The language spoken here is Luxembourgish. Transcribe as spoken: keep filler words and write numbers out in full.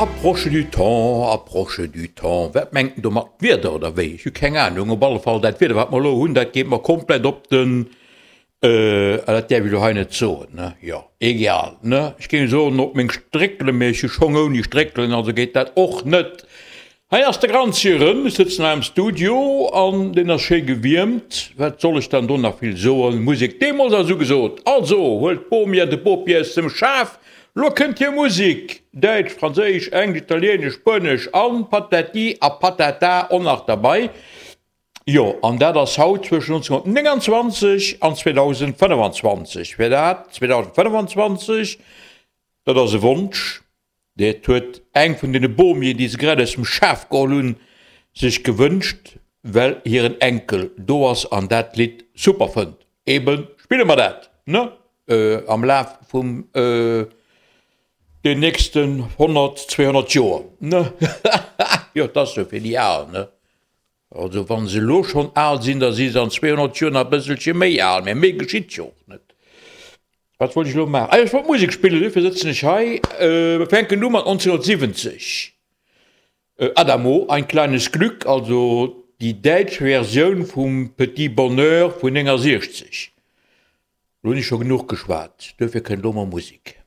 Approche du temps, approche du temps. Wat mengt en domat? D'Wieder oder wéi? Ech hu keng Anung. Op alle Fall, dat Wieder, wat mer elo hunn, dat geet mer komplett op den, ah, dat däerf ech elo hei net soen, ne? Jo, egal, ne? Ech géing soen, op meng Stréckelen, mee ech hu Schong ouni Stréckelen, also geet dat och net. Hei ass de Granzi erëm, ech sëtzen hei am Studio an deen ass schéi gewiermt. Wat soll ech dann do nach vill soen, Musek deemools ass ugesot. Also huelt d'Bomi an de Bopi aus dem Schaf, lo kënnt hir Musek, Däitsch, Franséisch, Englesch, Italieenesch, Spuenesch an Patati a Patata och nach derbei. Jo, an dat ass haut zwëschen nonzénhunnertnénganzwanzeg an zweedausendfënnefanzwanzeg. Fir dat zweedausendfënnefanzwanzeg, dat ass e Wonsch. Dat huet eng vun deene Bomien, déi se grad aus dem Schaf geholl hunn, sech gewënscht, well hiren Enkel do ass an dat Lidd super fënnt. Eben spille mer dat, ne, am Laf vum den nächsten honnert, zweehonnert Joer, ne? Jo, 't ass sou fir déi Al, ne? Also wa se elo schonn al sinn, da si se an zweehonnert Joer nach e bësselche méi al, mä méi geschitt jo och net. Wat wollt ech elo maachen? Ah jo, ech wollt Musek spillen, duerfir sëtzen ech hei. Mir fänken u mat nonzénhunnertsiwwenzeg, Adamo, Ein kleines Glück, also déi däitsch Versioun vum Petit Bonheur vun néngasiechzeg. Elo hunn ech scho genuch geschwat, duerfir kënnt elo mol Musek.